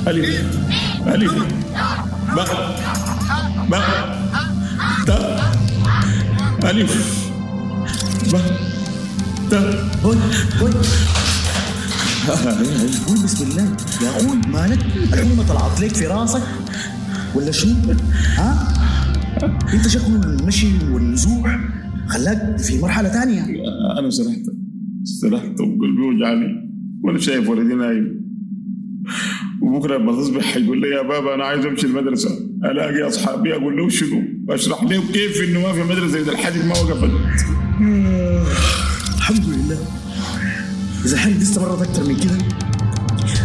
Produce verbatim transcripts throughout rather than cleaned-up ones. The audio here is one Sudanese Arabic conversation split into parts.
ألف ألف باء باء تاء ألف باء تاء. هوي هوي، قول بسم الله يا اخوي، مالك؟ الحمى طلعت لك في راسك ولا شنو؟ ها؟ انت شكله المشي والنزوح خلاك في مرحلة تانية. أنا سرحت سرحت وقلبي وجعني وأنا شايف ولدي نايم، وبكرة لما تصبح حيقول لي يا بابا أنا عايز أمشي المدرسة، ألاقي أصحابي أقول له شنو؟ أشرح له كيف إنه ما في مدرسة إذا الحاجة ما وقفت. آه، الحمد لله. إذا الحرب دي استمرت أكتر من كده،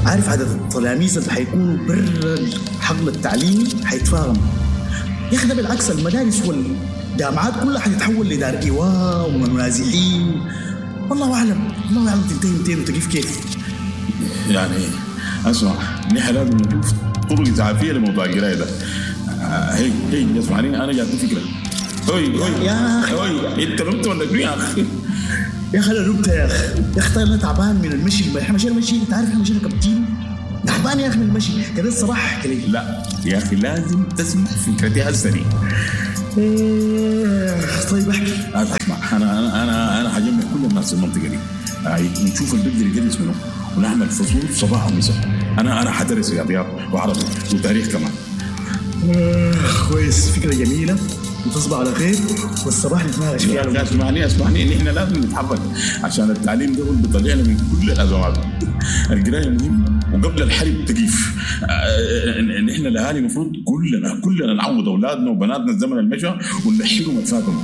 عارف عدد التلاميذ اللي حيكونوا برا الحقل التعليمي حيتفاقم. يا أخي ده بالعكس، المدارس والجامعات كلها حتتحول لدار إيواء ومنازحين. والله أعلم، الله أعلم تنتهي متين وتقف كيف. يعني اسمع، نحن لازم نشوف طرق إسعافية لموضوع القراية ده. آه، هي هي اسمعني، أنا جاتني فكرة. هوي هوي يا أخي. هوي، أنت نمت ولا شنو يا أخي؟ يا أخي أنا نمت يا أخي. يا أخي طيب أنا تعبان من المشي، إحنا مشينا مشي، أنت عارف إحنا مشينا كم كيلو؟ تعبان يا أخي من المشي كده الصباح. احكي لي. لا يا أخي لازم تسمع فكرتي هسه دي. إيه، طيب احكي. اسمع، أنا أنا أنا أنا حجمع كل الناس في المنطقة دي، أي، ونشوف اللي بيقدر يدرس منه، ونعمل فصول صباح ومساء. أنا أنا حدرس رياضيات وعربي وتاريخ كمان. آه، كويس، فكرة جميلة، وتصبح على خير، والصباح نتناقش فيها. لا، اسمعني اسمعني، إن إحنا لازم نتحرك عشان التعليم ده هو اللي بيطلعنا من كل الأزمات. القراية مهمة، وقبل الحرب تقيف. آه، إن إحنا الأهالي المفروض كلنا، كلنا نعوض أولادنا وبناتنا الزمن المشى ونلحقهم الفاتهم.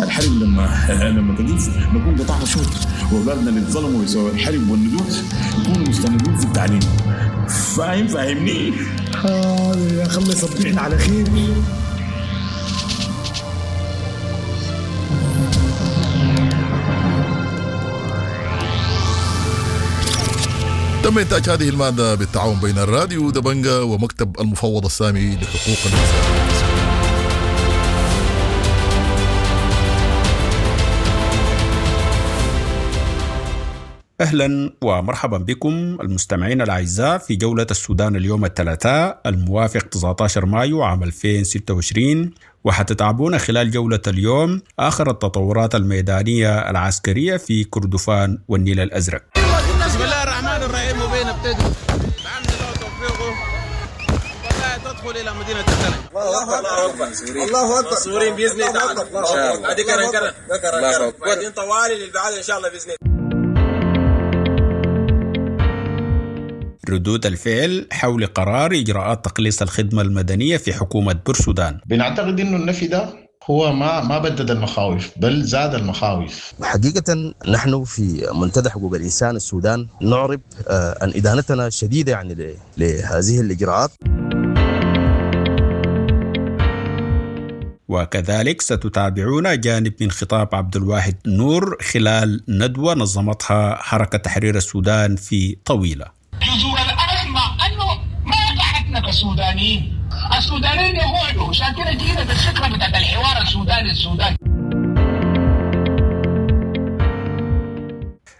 الحرب لما، لما تقيف نكون قطعنا شوط، وأولادنا اللي اتظلموا بسبب الحرب والنزوح يكونوا مستمرين في التعليم. فاهم؟ فاهمني؟ حاضر يا أخي، الله يصبحنا على خير. تم إنتاج هذه المادة بالتعاون بين الراديو دبنجا ومكتب المفوض السامي لحقوق الإنسان. أهلا ومرحبا بكم المستمعين الأعزاء في جولة السودان اليوم الثلاثاء الموافق تسعة عشر مايو عام ألفين وستة وعشرين، وحتتابعونا خلال جولة اليوم آخر التطورات الميدانية العسكرية في كردفان والنيل الأزرق. بسم الله الرحمن الرحيم. وبين ابتدي بعمل الله توفيقه والله تدخل إلى مدينة الدلنج. الله أكبر، الله أكبر، منصورين بإذن الله تعالى. الله أكبر. بعد كرن كرن. الله أكبر. بعدين طوالي للبعاد إن شاء الله بإذن الله. ردود الفعل حول قرار إجراءات تقليص الخدمة المدنية في حكومة بورسودان. بنعتقد إنه النفي ده هو ما ما بدد المخاوف بل زاد المخاوف. حقيقة نحن في منتدى حقوق الإنسان السودان نعرب، آه، عن إدانتنا الشديدة يعني ل-، لهذه الإجراءات. وكذلك ستتابعون جانب من خطاب عبد الواحد نور خلال ندوة نظمتها حركة تحرير السودان في طويلة. جذور الأزمة أنه ما قعدنا كسودانيين، السودانيين يقعدوا عشان كده جينا بالفكرة بتاعت الحوار السوداني السوداني.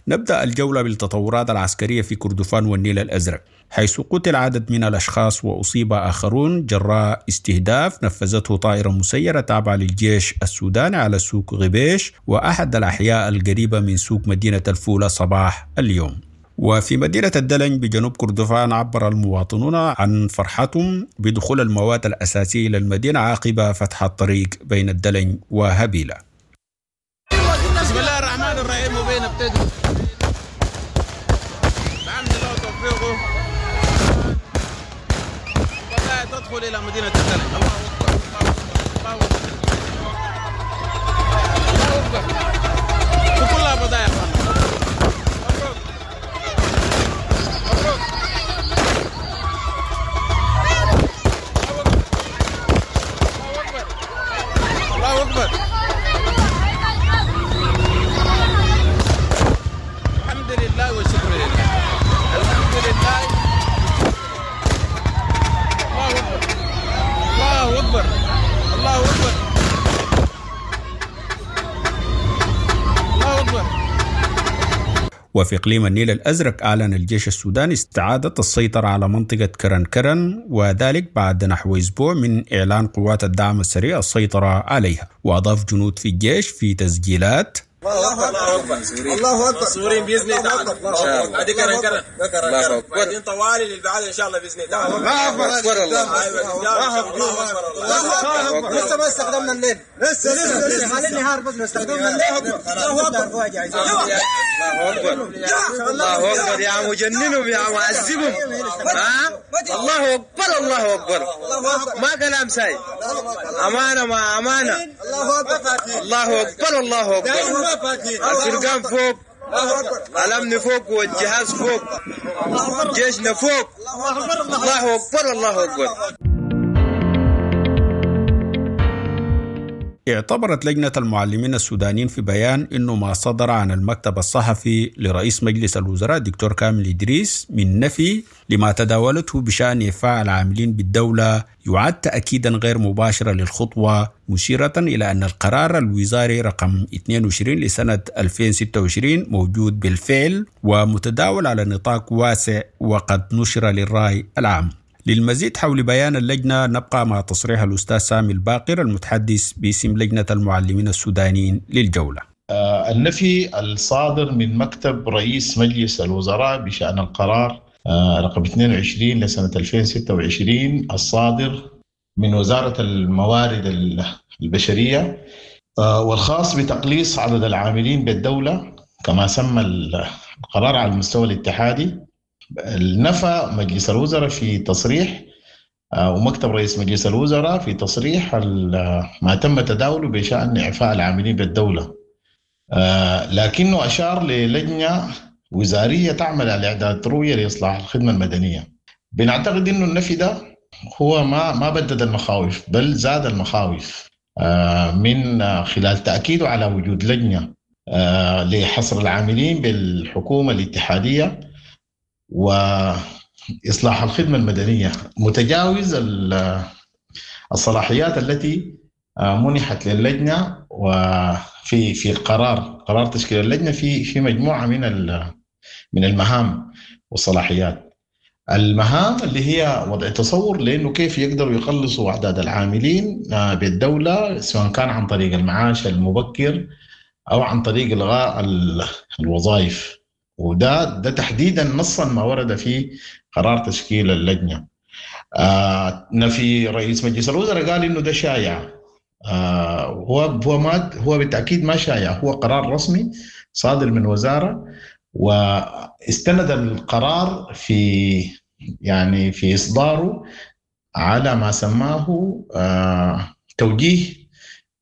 نبدأ الجولة بالتطورات العسكرية في كردفان والنيل الأزرق، حيث قتل عدد من الأشخاص وأصيب آخرون جراء استهداف نفذته طائرة مسيرة تابعة للجيش السوداني على سوق غبيش وأحد الأحياء القريبة من سوق مدينة الفولة صباح اليوم. وفي مدينة الدلنج بجنوب كردفان عبر المواطنون عن فرحتهم بدخول المواد الأساسية إلى المدينة عقب فتح الطريق بين الدلنج وهبيلة. بسم الله الرحمن الرحيم. وبين ابتدي بعمل الله توفيقه والله تدخل إلى مدينة الدلنج. الله أكبر، الله أكبر، الله أكبر، وكلها بضايع. الله أكبر. الحمد لله والشكر لله. الحمد لله. الله أكبر. الله أكبر. الله أكبر. وفي إقليم النيل الأزرق أعلن الجيش السوداني استعادة السيطرة على منطقة كرن كرن، وذلك بعد نحو أسبوع من إعلان قوات الدعم السريع السيطرة عليها. وأضاف جنود في الجيش في تسجيلات: الله اكبر، الله اكبر، منصورين باذن الله تعالى، ادي كرن كرن، الله اكبر، بعدين طوالي للبعاد ان شاء الله باذن الله تعالى. الله اكبر، الله اكبر، لسه ما استخدمنا الليل، لسه لسه لسه على النهار بس استخدمنا الليل. الله اكبر، الله اكبر، الله اكبر يا عم، جننهم يا عم، عذبهم. ها، الله اكبر، الله اكبر، ما كلام ساي، امانه ما امانه. الله اكبر، الله اكبر، الله اكبر، الفرقان فوق، الأمن فوق، والجهاز فوق، جيشنا فوق. الله أكبر، الله أكبر. اعتبرت لجنة المعلمين السودانيين في بيان إنه ما صدر عن المكتب الصحفي لرئيس مجلس الوزراء دكتور كامل إدريس من نفي لما تداولته بشأن إعفاء العاملين بالدولة يعد تأكيدا غير مباشرا للخطوة، مشيرة إلى أن القرار الوزاري رقم اثنين وعشرين لسنة ألفين وستة وعشرين موجود بالفعل ومتداول على نطاق واسع وقد نشر للرأي العام. للمزيد حول بيان اللجنة نبقى مع تصريح الأستاذ سامي الباقر المتحدث باسم لجنة المعلمين السودانيين للجولة. آه النفي الصادر من مكتب رئيس مجلس الوزراء بشأن القرار آه رقم اثنين وعشرين لسنة ألفين وستة وعشرين الصادر من وزارة الموارد البشرية آه والخاص بتقليص عدد العاملين بالدولة كما سمى القرار على المستوى الاتحادي. نفى مجلس الوزراء في تصريح ومكتب رئيس مجلس الوزراء في تصريح ما تم تداوله بشأن إعفاء العاملين بالدولة، لكنه أشار للجنة وزارية تعمل على إعداد رؤية لإصلاح الخدمة المدنية. بنعتقد إنه النفي ده هو ما ما بدد المخاوف بل زاد المخاوف من خلال تأكيده على وجود لجنة لحصر العاملين بالحكومة الاتحادية وإصلاح الخدمة المدنية، متجاوز الصلاحيات التي منحت للجنة. وفي في القرار قرار تشكيل اللجنة في في مجموعة من من المهام والصلاحيات. المهام اللي هي وضع تصور لأنه كيف يقدروا يقلصوا أعداد العاملين بالدولة، سواء كان عن طريق المعاش المبكر أو عن طريق إلغاء الوظائف، وده ده تحديدا نصا ما ورد في قرار تشكيل اللجنة. آه نفي رئيس مجلس الوزراء قال انه ده شائع. آه هو هو ما هو بالتاكيد ما شائع، هو قرار رسمي صادر من وزارة، واستند القرار في يعني في اصداره على ما سماه آه توجيه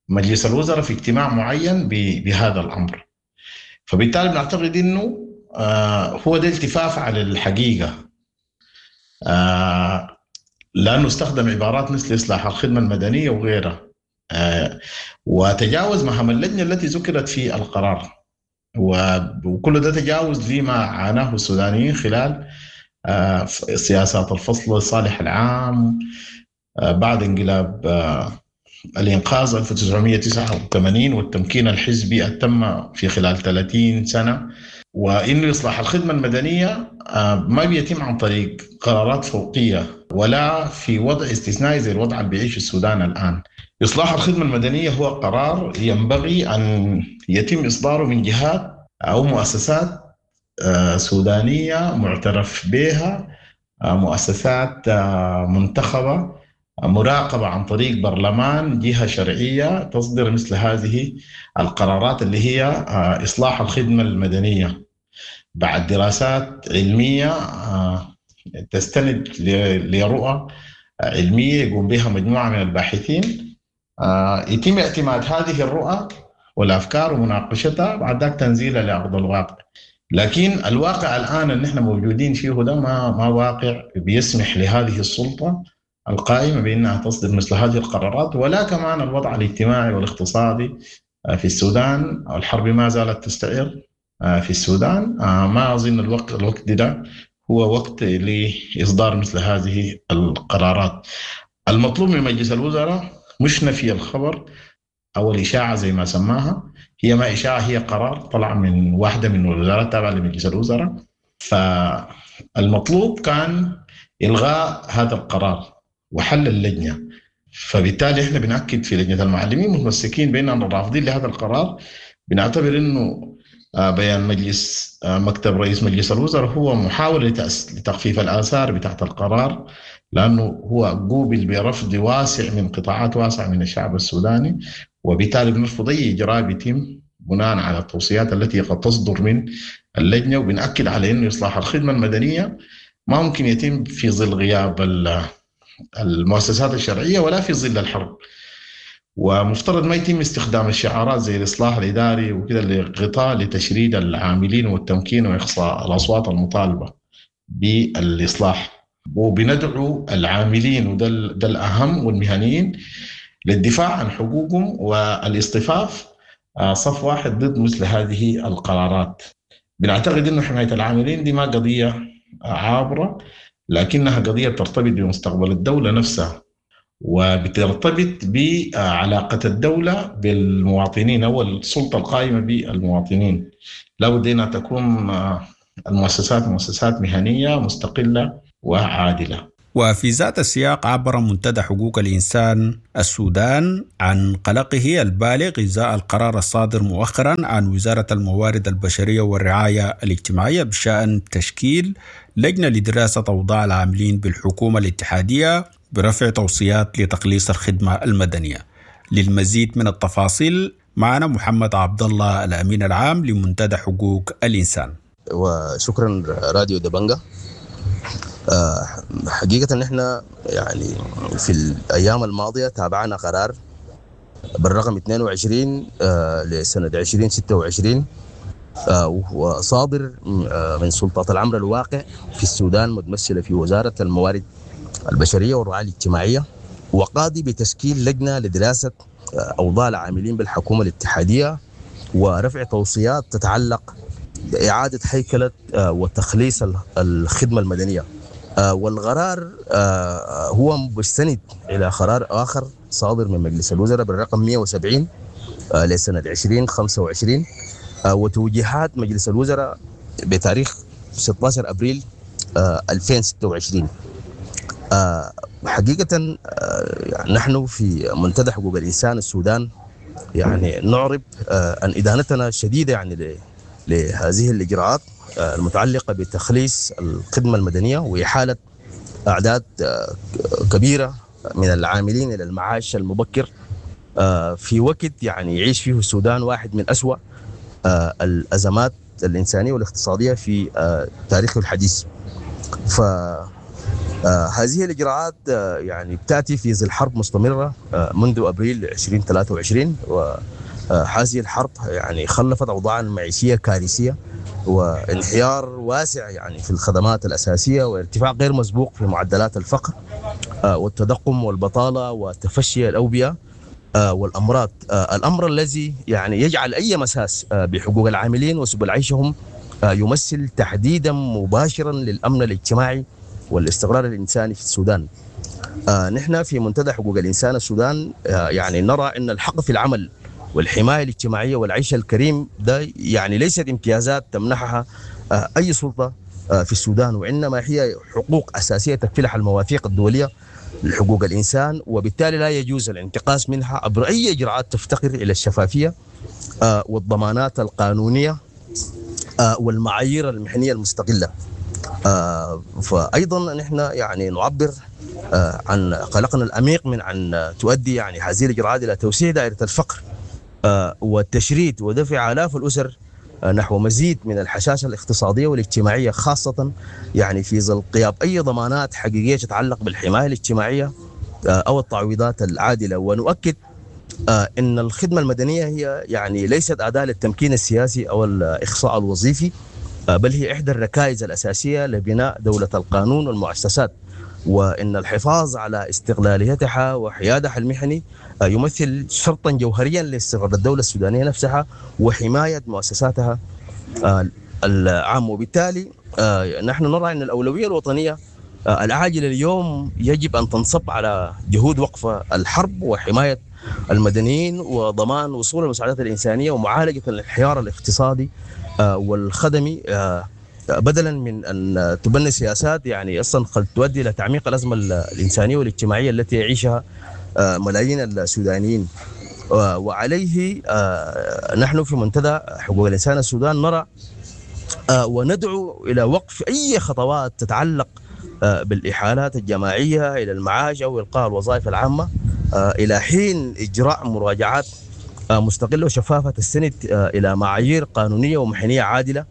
مجلس الوزراء في اجتماع معين بهذا الامر. فبالتالي بنعتقد انه آه هو ده التفاف على الحقيقة، آه لأنه استخدم عبارات مثل إصلاح الخدمة المدنية وغيرها، آه وتجاوز مهام اللجنة التي ذكرت في القرار، وكل ده تجاوز لما عاناه السودانيين خلال آه سياسات الفصل الصالح العام آه بعد انقلاب آه الإنقاذ ألف وتسعمائة وتسعة وثمانين والتمكين الحزبي التم في خلال ثلاثين سنة. وإنه إصلاح الخدمة المدنية ما بيتم عن طريق قرارات فوقية ولا في وضع استثنائي زي الوضع اللي بيعيشه السودان الآن. إصلاح الخدمة المدنية هو قرار ينبغي أن يتم إصداره من جهات أو مؤسسات سودانية معترف بها، مؤسسات منتخبة مراقبة عن طريق برلمان، جهة شرعية تصدر مثل هذه القرارات اللي هي إصلاح الخدمة المدنية بعد دراسات علمية تستند لرؤى علمية يقوم بها مجموعة من الباحثين. يتم اعتماد هذه الرؤى والأفكار ومناقشتها بعد ذلك تنزيلها لأرض الواقع. لكن الواقع الآن اللي نحن موجودين فيه ده ما ما واقع بيسمح لهذه السلطة القائمة بأنها تصدر مثل هذه القرارات، ولا كمان الوضع الاجتماعي والاقتصادي في السودان. الحرب ما زالت تستعر في السودان، ما أظن الوقت الوقت ده هو وقت لإصدار مثل هذه القرارات. المطلوب من مجلس الوزراء مش نفي الخبر أو الإشاعة زي ما سماها، هي ما إشاعة، هي قرار طلع من واحدة من الوزارات تابعة لمجلس الوزراء. فالمطلوب كان إلغاء هذا القرار وحل اللجنة. فبالتالي احنا بنأكد في لجنة المعلمين متمسكين بأننا رافضين لهذا القرار. بنعتبر انه بيان مجلس مكتب رئيس مجلس الوزراء هو محاولة لتخفيف الآثار بتاعت القرار، لأنه هو قوبل برفض واسع من قطاعات واسعة من الشعب السوداني، وبالتالي بنرفض أي إجراء بيتم بناء على التوصيات التي قد تصدر من اللجنة. وبنأكد على أنه إصلاح الخدمة المدنية ما ممكن يتم في ظل غياب المؤسسات الشرعية ولا في ظل الحرب، ومفترض ما يتم استخدام الشعارات زي الإصلاح الإداري وكذا لغطاء لتشريد العاملين والتمكين وإقصاء الأصوات المطالبة بالإصلاح. وبندعو العاملين وده ده الأهم والمهنيين للدفاع عن حقوقهم والاصطفاف صف واحد ضد مثل هذه القرارات. بنعتقد أنه حماية العاملين دي ما قضية عابرة، لكنها قضية ترتبط بمستقبل الدولة نفسها، وبترتبط بعلاقة الدولة بالمواطنين أو السلطة القائمة بالمواطنين. لابد أن تكون المؤسسات مؤسسات مهنية مستقلة وعادلة. وفي ذات السياق عبر منتدى حقوق الإنسان السودان عن قلقه البالغ إزاء القرار الصادر مؤخرا عن وزارة الموارد البشرية والرعاية الاجتماعية بشأن تشكيل لجنة لدراسة أوضاع العاملين بالحكومة الاتحادية برفع توصيات لتقليص الخدمة المدنية. للمزيد من التفاصيل معنا محمد عبد الله الأمين العام لمنتدى حقوق الإنسان. وشكرا راديو دبنجة. حقيقة نحن يعني في الأيام الماضية تابعنا قرار بالرقم اثنين وعشرين لسنة عشرين ستة وعشرين وصادر من سلطات الأمر الواقع في السودان متمثلة في وزارة الموارد البشرية والرعاية الاجتماعية، وقاضي بتشكيل لجنة لدراسة أوضاع العاملين بالحكومة الاتحادية ورفع توصيات تتعلق بإعادة هيكلة وتخليص الخدمة المدنية. والقرار هو مستند إلى قرار آخر صادر من مجلس الوزراء بالرقم مئة وسبعين لسنة عشرين خمسة وعشرين وتوجيهات مجلس الوزراء بتاريخ ستة عشر أبريل ألفين وستة وعشرين. حقيقة نحن في منتدى حقوق الإنسان السودان يعني نعرب عن إدانتنا الشديدة يعني لهذه الإجراءات المتعلقة بتخليص الخدمة المدنية وإحالة أعداد كبيرة من العاملين إلى المعاش المبكر في وقت يعني يعيش فيه السودان واحد من أسوأ الأزمات الإنسانية والاقتصادية في تاريخه الحديث. فهذه الإجراءات يعني تأتي في ظل حرب مستمرة منذ أبريل ألفين وثلاثة وعشرين، وهذه الحرب يعني خلفت أوضاعا معيشية كارثية وانهيار واسع يعني في الخدمات الأساسية وارتفاع غير مسبوق في معدلات الفقر والتضخم والبطالة وتفشي الأوبئة والأمراض، الأمر الذي يعني يجعل أي مساس بحقوق العاملين وسبل عيشهم يمثل تحديدا مباشرا للأمن الاجتماعي والاستقرار الإنساني في السودان. نحن في منتدى حقوق الإنسان السودان يعني نرى أن الحق في العمل والحماية الاجتماعية والعيش الكريم ده يعني ليست امتيازات تمنحها أي سلطة في السودان، وإنما هي حقوق أساسية تكفلها المواثيق الدولية لحقوق الإنسان، وبالتالي لا يجوز الانتقاص منها عبر أي إجراءات تفتقر إلى الشفافية والضمانات القانونية والمعايير المهنية المستقلة. فأيضا نحن يعني نعبر عن قلقنا العميق من أن تؤدي يعني هذه الإجراءات إلى توسيع دائرة الفقر والتشريد ودفع آلاف الأسر نحو مزيد من الحشاشة الاقتصادية والاجتماعية، خاصة يعني في ظل غياب أي ضمانات حقيقية تتعلق بالحماية الاجتماعية أو التعويضات العادلة. ونؤكد أن الخدمة المدنية هي يعني ليست أداة للتمكين السياسي أو الإخصاء الوظيفي، بل هي إحدى الركائز الأساسية لبناء دولة القانون والمؤسسات، وإن الحفاظ على استقلاليتها وحيادها المهني يمثل شرطا جوهريا لاستقرار الدولة السودانية نفسها وحماية مؤسساتها العامة. وبالتالي نحن نرى أن الأولوية الوطنية العاجلة اليوم يجب أن تنصب على جهود وقف الحرب وحماية المدنيين وضمان وصول المساعدات الإنسانية ومعالجة الانحيار الاقتصادي والخدمي، بدلا من أن تبني سياسات يعني أصلا قد تؤدي إلى تعميق الأزمة الإنسانية والاجتماعية التي يعيشها ملايين السودانيين. وعليه نحن في منتدى حقوق الإنسان السودان نرى وندعو إلى وقف أي خطوات تتعلق بالإحالات الجماعية إلى المعاش أو إلقاء الوظائف العامة إلى حين إجراء مراجعات مستقلة وشفافة تستند إلى معايير قانونية ومحنية عادلة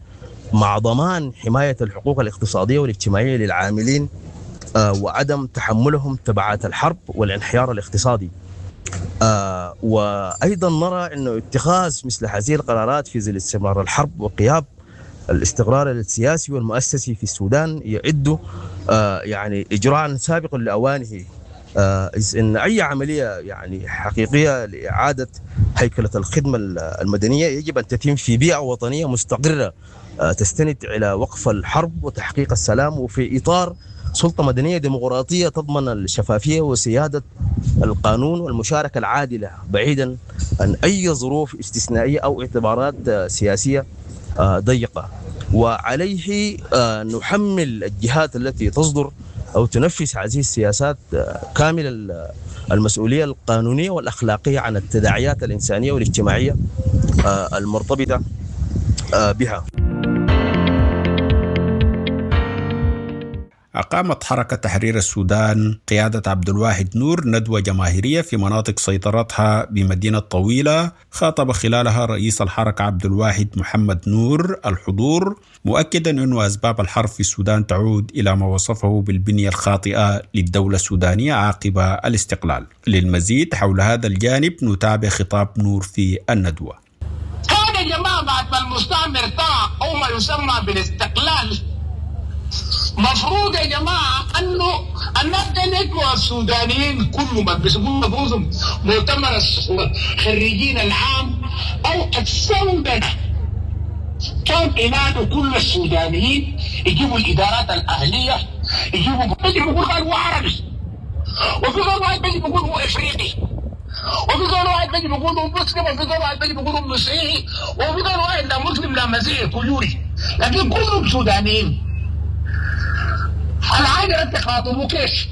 مع ضمان حماية الحقوق الاقتصادية والاجتماعية للعاملين وعدم تحملهم تبعات الحرب والانحيار الاقتصادي. وأيضا نرى أنه اتخاذ مثل هذه القرارات في ظل استمرار الحرب وغياب الاستقرار السياسي والمؤسسي في السودان يعد يعني إجراء سابق لأوانه، إذ إن أي عملية يعني حقيقية لإعادة هيكلة الخدمة المدنية يجب أن تتم في بيئة وطنية مستقرة تستند إلى وقف الحرب وتحقيق السلام، وفي إطار سلطة مدنية ديمقراطية تضمن الشفافية وسيادة القانون والمشاركة العادلة، بعيدا عن أي ظروف استثنائية أو اعتبارات سياسية ضيقة. وعليه نحمل الجهات التي تصدر أو تنفذ هذه السياسات كامل المسؤولية القانونية والأخلاقية عن التداعيات الإنسانية والاجتماعية المرتبطة بها. أقامت حركة تحرير السودان قيادة عبد الواحد نور ندوة جماهيرية في مناطق سيطرتها بمدينة طويلة، خاطب خلالها رئيس الحركة عبد الواحد محمد نور الحضور، مؤكدا أن أسباب الحرب في السودان تعود إلى ما وصفه بالبنية الخاطئة للدولة السودانية عقب الاستقلال. للمزيد حول هذا الجانب نتابع خطاب نور في الندوة. كان يا جماعة بعد ما المستعمر طلع أو ما يسمى بالاستقلال، مفروض يا جماعة أنه الناس دي السودانيين كلهم بيسموه نفوسهم مؤتمر الخريجين العام أو السودنة، كان ينادوا كل السودانيين يجيبوا الإدارات الأهلية، يجيبوا بيجي بيقول هو عربي، وفي غير واحد بيجي بيقول هو إفريقي، وفي غير واحد بيجي بيقول هو مسلم، وفي غير واحد بيجي بيقول هو مسيحي، وفي غير واحد لا مسلم لا مسيحي كيوري، لكن كلهم سودانيين. العادة انت خاطبوا كيف؟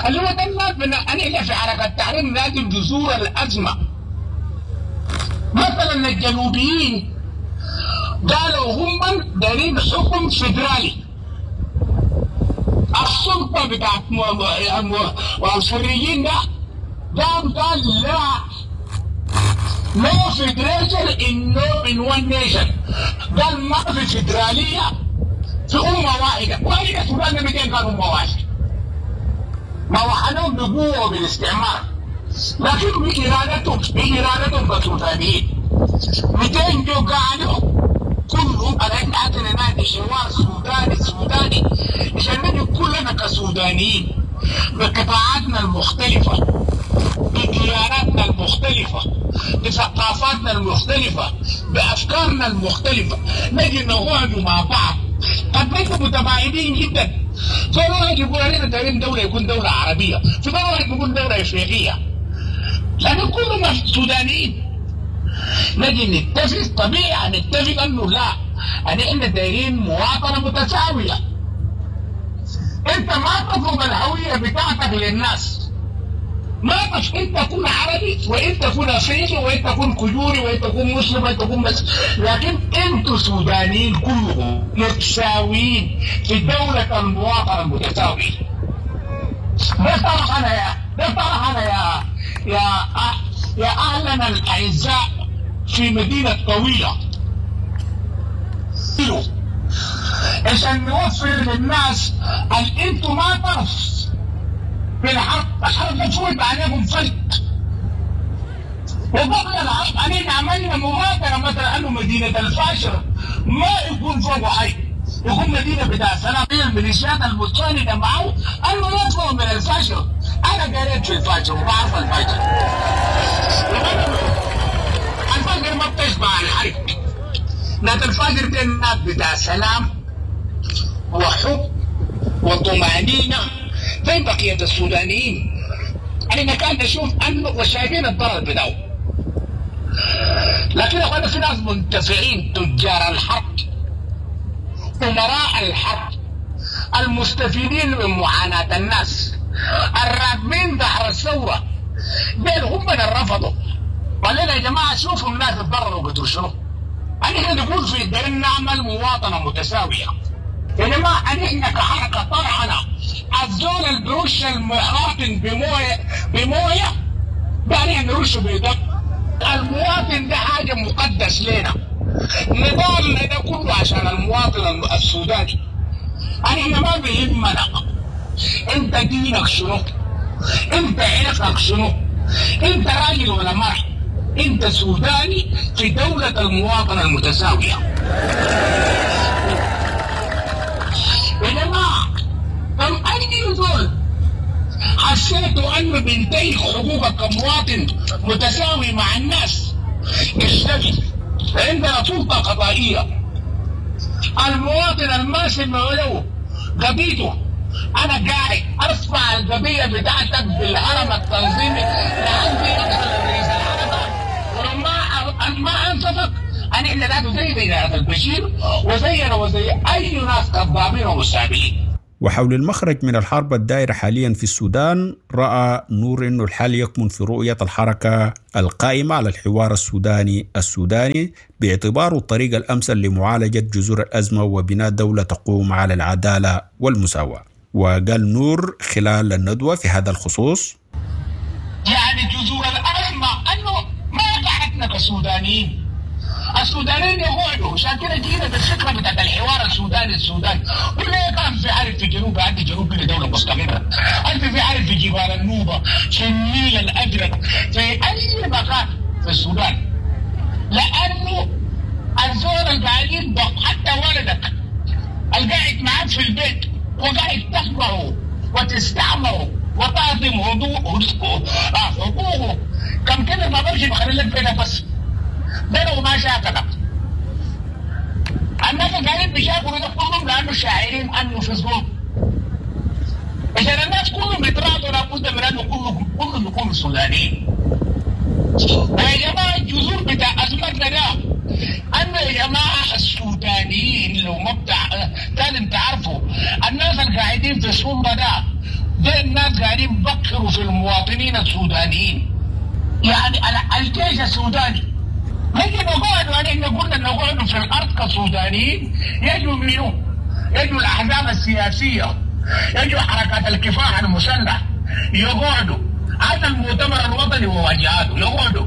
اللي هو ده الناس من انا في حركة التحرير نادي جذور الأزمة. مثلا الجنوبيين قالوا هم دارين حكم فيدرالي. السلطة بتاعت الخريجين ده قام قال لا، no federation in no in one nation. قال ما في فيدرالية في أمة واحدة، وهي السودان مئتين كانوا أمة واحدة. ما وحدهم بقوة بالاستعمار، لكن بإرادتهم بإرادتهم كسودانيين. مئتين جو قالوا كلهم أنا عندنا نادي حوار سوداني سوداني عشان نجي كلنا كسودانيين بقطاعاتنا المختلفة، بدياناتنا المختلفة، بثقافاتنا المختلفة، بأفكارنا المختلفة، نجي نقعد مع بعض. قد نكون متباعدين جدا. في واحد يقول علينا دايرين دولة يكون دولة عربية، في واحد يقول دولة إفريقية، لكن كلنا سودانيين. نجي نتفق، طبيعي نتفق أنه لا، أن إحنا دايرين مواطنة متساوية. أنت ما تفرض الهوية بتاعتك للناس، ما تف أنت تكون عربي وأنت تكون أفريقي وأنت تكون كجوري وأنت تكون مسلم وأنت تكون بس، لكن أنتوا سودانيين كلهم متساويين في دولة المواطنة المتساوية. ده طرح أنا يا ده طرح أنا يا يا يا أهلنا الأعزاء في مدينة طويلة، عشان نوفر للناس أن أنتوا ما طرف في الحرب. الحرب تفوت عليكم فلت. وقبل الحرب علينا عملنا مبادرة مثلا أنه مدينة الفاشر ما يكون فوق حي، يكون مدينة بتاع سلام. الميليشيات المتساندة معه أنه يطلعوا من الفاشر. أنا قريت في الفاشر وبعرف الفاشر. الفاشر ما بتشبع الحرب. ناس الفاشر دي الناس بتاع سلام وحب وطمأنينة زي بقية السودانيين. احنا كان نشوف انه وشايفين الضرر بتاعه. لكن يا اخوانا في ناس منتفعين، تجار الحرب، امراء الحرب، المستفيدين من معاناة الناس، الراكبين ظهر الثورة، ديل هم اللي رفضوا. قال لنا يا جماعة شوفوا الناس اتضرروا قدر شنو. احنا نقول في دايرين نعمل مواطنة متساوية. يا جماعة احنا كحركة طرحنا الزول اللي بيرش المواطن بموية بموية ده نحن نرشه بدم. المواطن ده حاجة مقدس لنا. نضالنا ده كله عشان المواطن السوداني. احنا ما بيهمنا انت دينك شنو، انت عرقك شنو، انت راجل ولا مرأة، انت سوداني في دولة المواطنة المتساوية. يا جماعة طب اي زول حسيتوا انه بينتهك حقوقك كمواطن متساوي مع الناس اشتكي. عندنا سلطة قضائية. المواطن الماسي له قضيته، انا قاعد ارفع القضية بتاعتك بالهرم التنظيمي لعندي ادخل الرئيس الحركة، ولما ما انصفك انا احنا ذاته زي زي البشير وزينا وزي اي ناس كذابين ومستهبلين. وحول المخرج من الحرب الدائرة حاليا في السودان، رأى نور أن الحل يكمن في رؤية الحركة القائمة على الحوار السوداني السوداني باعتباره الطريق الأمثل لمعالجة جذور الأزمة وبناء دولة تقوم على العدالة والمساواة. وقال نور خلال الندوة في هذا الخصوص: يعني جذور الأزمة أنه ما قعدنا كسودانيين، السودانيين يقعدوا، عشان كده جينا بالفكرة بتاعت الحوار السوداني السوداني. وليه كان في عارف في جنوب، عندي جنوب كده دولة مستقره، انت في عارف في جبال النوبة، في النيل الازرق، في اي مكان في السودان. لانه الزول القاعدين حتى ولدك القاعد معاك في البيت وقاعد تخبره وتستعمره وتهضم حقوقه كم كده ما بمشي بخلي لك بيتك بس. ده لو ما شاكلك. الناس قاعدين بيشاكلوا ده كلهم لانه شاعرين انه في ظلم. عشان الناس كلهم بيتراضوا لابد من انه كلهم كلهم يكونوا سودانيين. ويا جماعة الجذور بتاع ازمتنا ده انه يا جماعة السودانيين لو ما بتاع لازم تعرفوا الناس اللي قاعدين في السلطة ده ده الناس قاعدين بكروا في المواطنين السودانيين. يعني الجيش السوداني نجي نقعد، ونحن قلنا نقعد في الارض كسودانيين، يجوا منو؟ يجوا الاحزاب السياسية، يجوا حركات الكفاح المسلح، يقعدوا هذا المؤتمر الوطني وواجهاته، يقعدوا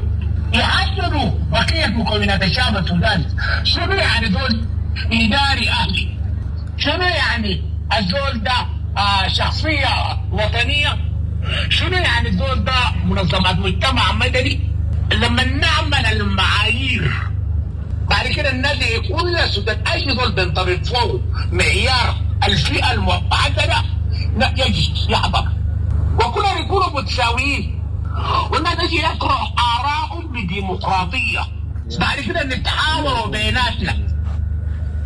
يحددوا بقية مكونات الشعب السوداني. شنو يعني دول اداري اهلي؟ شنو يعني الزول ده آه شخصية وطنية؟ شنو يعني الزول ده منظمات مجتمع مدني؟ لما نعمل المعايير بعد كده النادي كل السودان اي زول بينطبق فوق معيار الفئة المحددة لا يجي يحضر، وكلهم يكونوا متساويين، والناس يجي يقرأ آرائهم بديمقراطيه. بعد كده نتحاوروا بيناتنا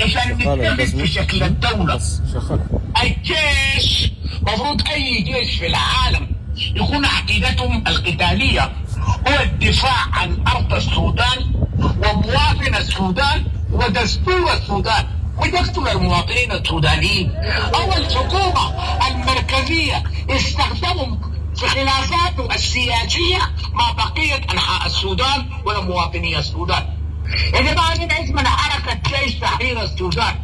عشان نتفق في شكل الدولة. الجيش مفروض اي جيش في العالم يكون عقيدتهم القتالية هو الدفاع عن أرض السودان ومواطن السودان ودستور السودان، ويقتل المواطنين السودانيين. أو الحكومة المركزية استخدموا في خلافاته السياسية مع بقية أنحاء السودان ومواطني السودان. يا جماعة نحن اسمنا حركة جيش تحرير السودان،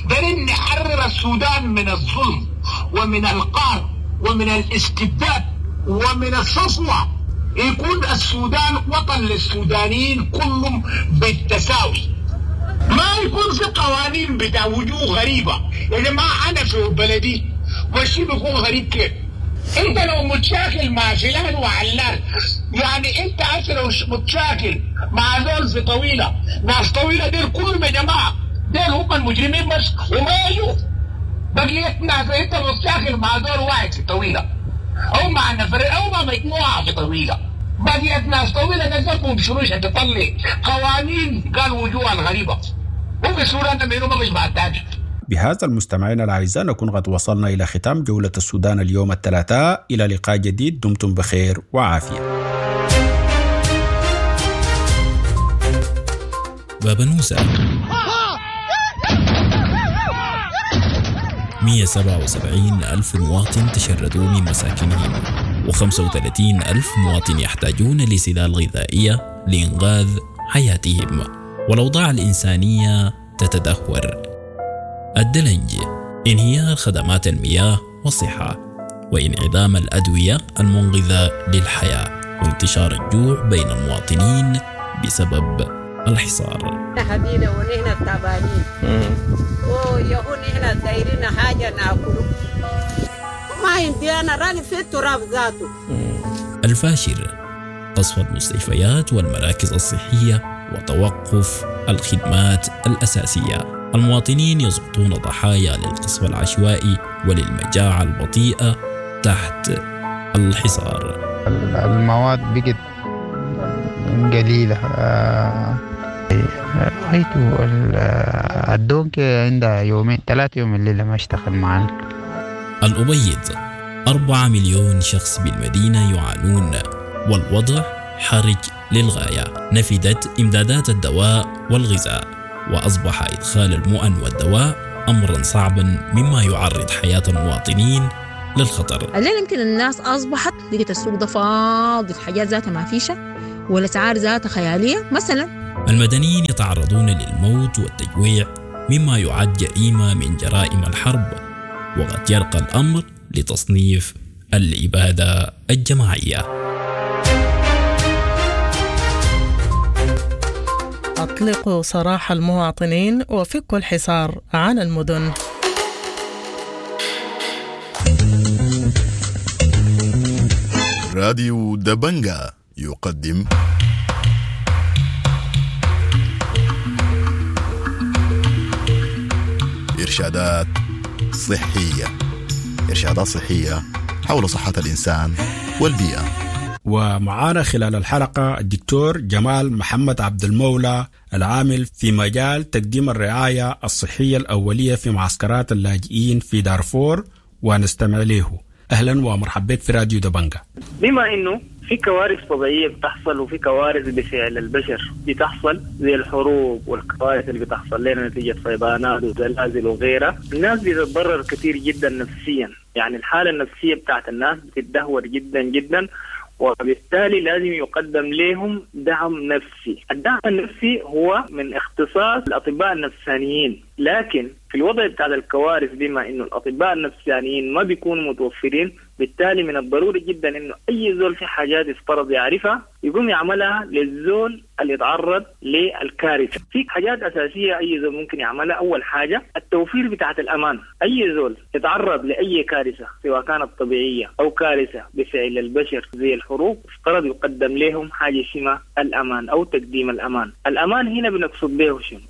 دارين نحرر السودان من الظلم ومن القهر ومن الاستبداد ومن السطوة. يكون السودان وطن للسودانيين كلهم بالتساوي، ما يكون في قوانين بتاع وجوه غريبة. يا جماعة أنا في بلدي والشيء بيكون غريب كيف؟ أنت لو متشاكل مع فلان وعلان، يعني أنت أصلا لو متشاكل مع زول في طويلة، ناس طويلة ديل كلهم يا جماعة ديل هم المجرمين بس وما يجوا بقية ناس. أنت متشاكل مع زول واحد في طويلة أو مع نفر أو مع مجموعة في طويلة، بقية ناس طويلة نزلكم شنو عشان تطلع قوانين قال وجوه الغريبة. وفي السودان ده ما بيشبع التاني. بهذا المستمعين الأعزاء نكون قد وصلنا إلى ختام جولة السودان اليوم الثلاثاء. إلى لقاء جديد، دمتم بخير وعافية. بابنوسة مئة وسبعة وسبعين ألف مواطن تشردوا من مساكنهم، وخمسة وثلاثين ألف مواطن يحتاجون لسلال غذائية لإنقاذ حياتهم، والأوضاع الإنسانية تتدهور. الدلنج، انهيار خدمات المياه والصحة، وانعدام الأدوية المنقذة للحياة، وانتشار الجوع بين المواطنين بسبب الحصار. حبينا ونحن تعبانين ويهون نحن دايرين حاجة ناكله، ما عندي أنا راني في التراب ذاته. الفاشر، قصف المستشفيات والمراكز الصحية وتوقف الخدمات الأساسية. المواطنين يسقطون ضحايا للقصف العشوائي وللمجاعة البطيئة تحت الحصار. المواد بقت قليلة، رأيته الدونك عندها يومين ثلاثة يوم الليلة ما اشتغل معنا. الأبيض، أربعة مليون شخص بالمدينة يعانون، والوضع حرج للغاية. نفدت إمدادات الدواء والغذاء، وأصبح إدخال المؤن والدواء أمرا صعبا، مما يعرض حياة المواطنين للخطر. الليلة يمكن الناس أصبحت لقيت السوق ده فاضي، الحاجات ذاتها ما فيشة والأسعار ذاتها خيالية مثلا. المدنيين يتعرضون للموت والتجويع، مما يعد جريمة من جرائم الحرب، وقد يرقى الأمر لتصنيف الإبادة الجماعية. أطلقوا سراح المواطنين وفكوا الحصار عن المدن. راديو دبنجا يقدم إرشادات صحية، إرشادات صحية حول صحة الإنسان والبيئة. ومعانا خلال الحلقة الدكتور جمال محمد عبد المولى، العامل في مجال تقديم الرعاية الصحية الأولية في معسكرات اللاجئين في دارفور، ونستمع له. أهلا ومرحبا بك في راديو دبنجا. بما إنه في كوارث طبيعية بتحصل وفي كوارث بفعل البشر بتحصل، زي الحروب والكوارث اللي بتحصل لنا نتيجة فيضانات وزلازل وغيرها، الناس بتتضرر كثير جدا نفسيا. يعني الحالة النفسية بتاعت الناس بتتدهور جدا جدا، وبالتالي لازم يقدم لهم دعم نفسي. الدعم النفسي هو من اختصاص الأطباء النفسانيين، لكن في الوضع بتاع الكوارث بما إنه الأطباء النفسانيين ما بيكونوا متوفرين، بالتالي من الضروري جدا إنه أي زول في حاجات يفترض يعرفها يقوم يعملها للزول اللي يتعرض للكارثة. في حاجات أساسية أي زول ممكن يعملها. أول حاجة التوفير بتاعت الأمان. أي زول يتعرض لأي كارثة سواء كانت طبيعية أو كارثة بفعل البشر زي الحروب، افترض يقدم لهم حاجة اسمها الأمان أو تقديم الأمان. الأمان هنا بنقصد به شنو؟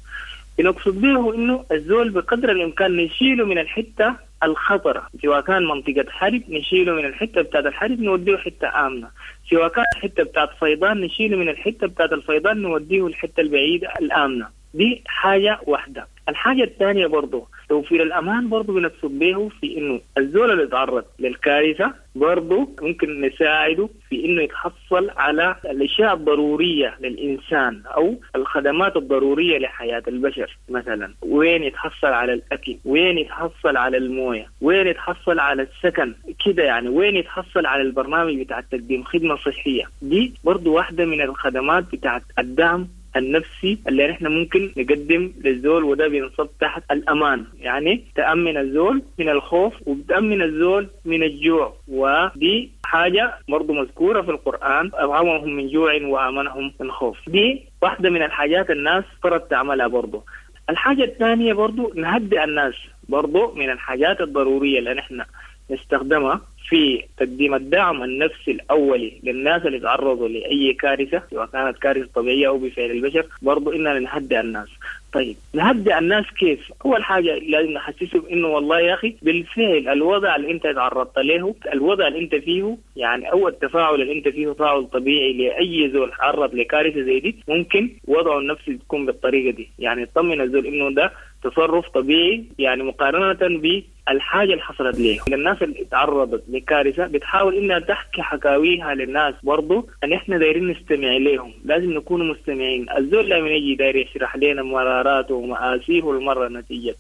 بنقصد به إنه الزول بقدر الإمكان نشيله من الحتة الخطرة، سواء كان منطقة حرب نشيله من الحتة بتاعت الحرب نوديه حتة آمنة، سواء كان حتة بتاعت فيضان نشيله من الحتة بتاعت الفيضان نوديه الحتة البعيدة الآمنة. دي حاجة واحدة. الحاجة الثانية برضو توفير الأمان برضو بنقصد به في إنه الزول اللي يتعرض للكارثة برضو ممكن نساعده في إنه يتحصل على الأشياء الضرورية للإنسان أو الخدمات الضرورية لحياة البشر. مثلا وين يتحصل على الأكل، وين يتحصل على الموية، وين يتحصل على السكن كده، يعني وين يتحصل على البرنامج بتاع تقديم خدمة صحية. دي برضو واحدة من الخدمات بتاعت الدعم النفسي اللي نحن ممكن نقدم للزول، وده بينصب تحت الأمان. يعني تأمن الزول من الخوف وبتأمن الزول من الجوع، ودي حاجة برضو مذكورة في القرآن، أطعمهم من جوع وآمنهم من خوف. دي واحدة من الحاجات الناس فرض تعملها برضو. الحاجة الثانية برضو نهدئ الناس، برضو من الحاجات الضرورية اللي نحن نستخدمها في تقديم الدعم النفسي الأولي للناس اللي تعرضوا لأي كارثة سواء كانت كارثة طبيعية أو بفعل البشر، برضو إننا نهدئ الناس. طيب نهدئ الناس كيف؟ أول حاجة لازم نحسسهم إنه والله يا أخي بالفعل الوضع اللي أنت تعرضت له، الوضع اللي أنت فيه، يعني أو التفاعل اللي أنت فيه تفاعل طبيعي لأي زول تعرض لكارثة زي دي، ممكن وضعه النفسي تكون بالطريقة دي. يعني تطمن الزول إنه ده تصرف طبيعي يعني مقارنة بالحاجة اللي حصلت ليه. الناس اللي تعرضت لكارثة بتحاول إنها تحكي حكاويها للناس برضو، أن إحنا دايرين نستمع لهم، لازم نكون مستمعين. الزول لما يجي داير يشرح لنا مراراته ومآسيه المرة نتيجة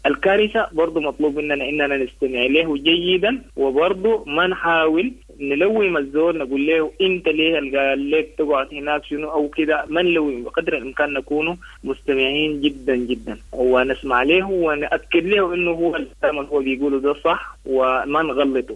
الكارثة برضو مطلوب مننا إننا نستمع له جيدا، وبرضو ما نحاول نلوم الزول نقول له أنت ليه قال لك تقعد هناك شنو أو كده، ما نلوم، بقدر الإمكان نكون مستمعين جدا جدا ونسمع له ونأكد له إنه هو الكلام اللي هو بيقوله ده صح وما نغلطه.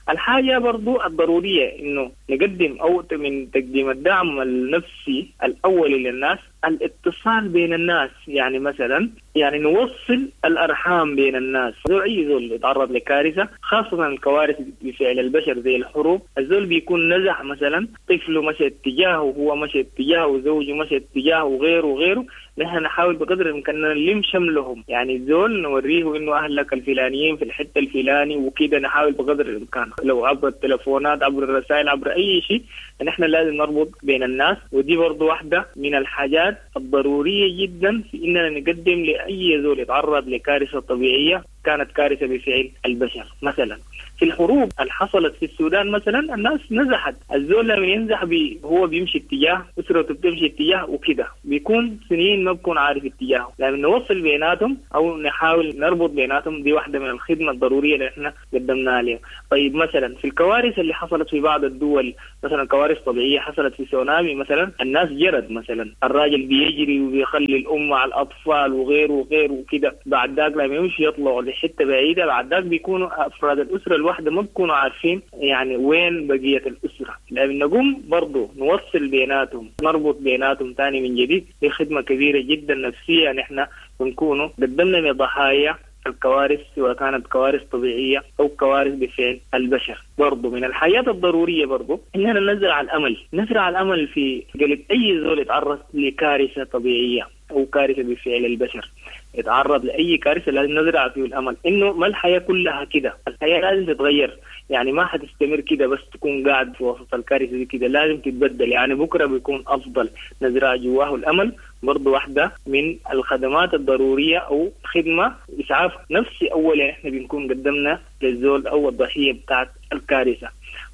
الحاجة برضو الضرورية إنه نقدم أو من تقديم الدعم النفسي الأولي للناس الاتصال بين الناس، يعني مثلا يعني نوصل الأرحام بين الناس. زول أي زول يتعرض لكارثة خاصة الكوارث بفعل البشر زي الحروب، الزول بيكون نزح مثلا طفله مشى اتجاهه وهو مشى اتجاهه وزوجه مشى اتجاهه وغيره وغيره، نحن نحاول بقدر الإمكان نلم شملهم، يعني الزول نوريه إنه أهلك الفلانيين في الحتة الفلاني وكده، نحاول بقدر الإمكان لو عبر التلفونات عبر الرسائل عبر أي شيء، نحن لازم نربط بين الناس. ودي برضو واحدة من الحاجات الضرورية جدا في إننا نقدم لأي زول يتعرض لكارثة طبيعية كانت كارثة بفعل البشر. مثلا في الحروب اللي حصلت في السودان مثلا الناس نزحت، الزول لما ينزح بي هو بيمشي اتجاه، أسرته بتمشي اتجاه وكده، بيكون سنين ما بكون عارف اتجاهه. لما نوصل بيناتهم أو نحاول نربط بيناتهم دي واحدة من الخدمة الضرورية اللي احنا قدمناها لهم. طيب مثلا في الكوارث اللي حصلت في بعض الدول، مثلا كوارث طبيعية حصلت في سونامي مثلا، الناس جرت مثلا، الراجل بيجري وبيخلي الأم مع الأطفال وغيره وغيره وكده، بعد ذاك لما يمشي يطلعوا لحتة بعيدة، بعد ذاك بيكونوا أفراد الأسرة الواحدة ما بيكونوا عارفين يعني وين بقية الأسرة. لما نقوم برضو نوصل بيناتهم نربط بيناتهم تاني من جديد، دي خدمة كبيرة جدا نفسية نحن بنكونوا قدمنا لضحايا الكوارث سواء كانت كوارث طبيعية أو كوارث بفعل البشر. برضو من الحياة الضرورية برضو إننا نزرع الأمل، نزرع الأمل في قلب أي زول يتعرض لكارثة طبيعية أو كارثة بفعل البشر، يتعرض لأي كارثة لازم نزرع فيه الأمل إنه ما الحياة كلها كده، الحياة لازم تتغير، يعني ما حتستمر كده بس تكون قاعد في وسط الكارثة دي كده، لازم تتبدل، يعني بكرة بيكون أفضل. نزرع جواه الأمل برضو واحدة من الخدمات الضرورية أو خدمة إسعاف نفسي أولا إحنا بنكون قدمنا للزول أو الضحية بتاعت الكارثة.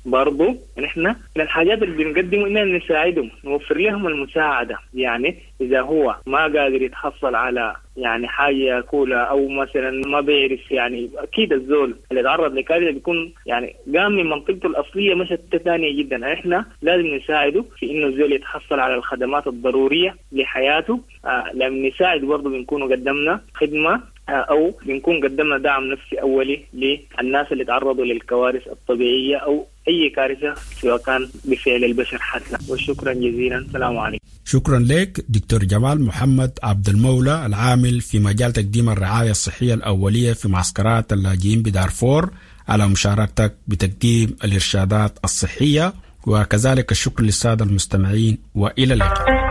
برضو نحن من الحاجات اللي بنقدمه إننا نساعدهم، نوفر لهم المساعدة، يعني إذا هو ما قادر يتحصل على يعني حاجة ياكلها أو مثلا ما بيعرف، يعني أكيد الزول اللي تعرض لكارثة بيكون يعني قام من منطقته الأصلية مشت ثانية جدا، إحنا لازم نساعده في إنه الزول يتحصل على الخدمات الضرورية لحياته. آه لما نساعد برضو بنكون قدمنا خدمة أو بنكون قدمنا دعم نفسي أولي للناس اللي تعرضوا للكوارث الطبيعية أو أي كارثة سواء كان بفعل البشر حتى. وشكرا جزيلا، السلام عليكم. شكرا لك دكتور جمال محمد عبد المولى العامل في مجال تقديم الرعاية الصحية الأولية في معسكرات اللاجئين بدارفور على مشاركتك بتقديم الإرشادات الصحية، وكذلك الشكر للسادة المستمعين، وإلى اللقاء.